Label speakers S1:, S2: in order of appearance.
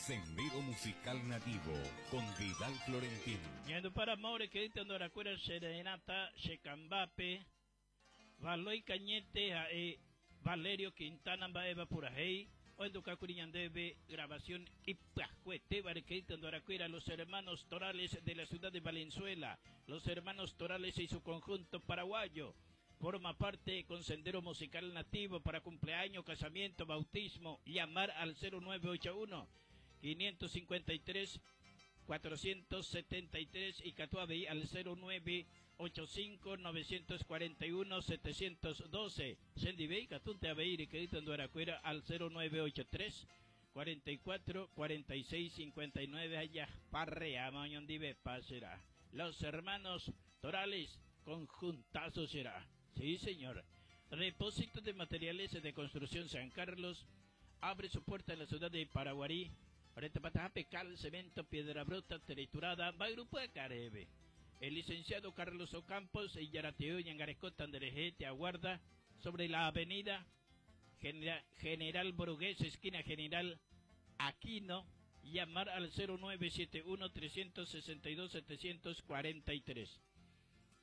S1: Sendero Musical Nativo con Vidal Florentín.
S2: Ñandupára More keýta ndorakuéra che renãta che kambápe Valoy Cañete ha'e Valerio Quintana mba'éva purahéi ohendukákuri ñandéve grabación ipyahuetéva rekeýta ndorakuéra Los Hermanos Torales de la ciudad de Valenzuela Los Hermanos Torales y su conjunto paraguayo forma parte con Sendero Musical Nativo para cumpleaños, casamiento, bautismo. Llamar al 0981 553 473 y Catuabey al 0985 941 712. Sendibey, Catunte Abeir y Quedito Anduaracuera al 0983 44 46 59 allá Parrea, Mañondive, será. Los hermanos Torales, conjuntazo será. Sí, señor. Depósito de materiales de construcción San Carlos abre su puerta en la ciudad de Paraguarí. Cal, cemento, piedra bruta, triturada, va grupo de Carebe. El licenciado Carlos Ocampos y Yarateo Yangarescota te aguarda sobre la avenida General Brugués, esquina General Aquino, llamar al 0971 362 743.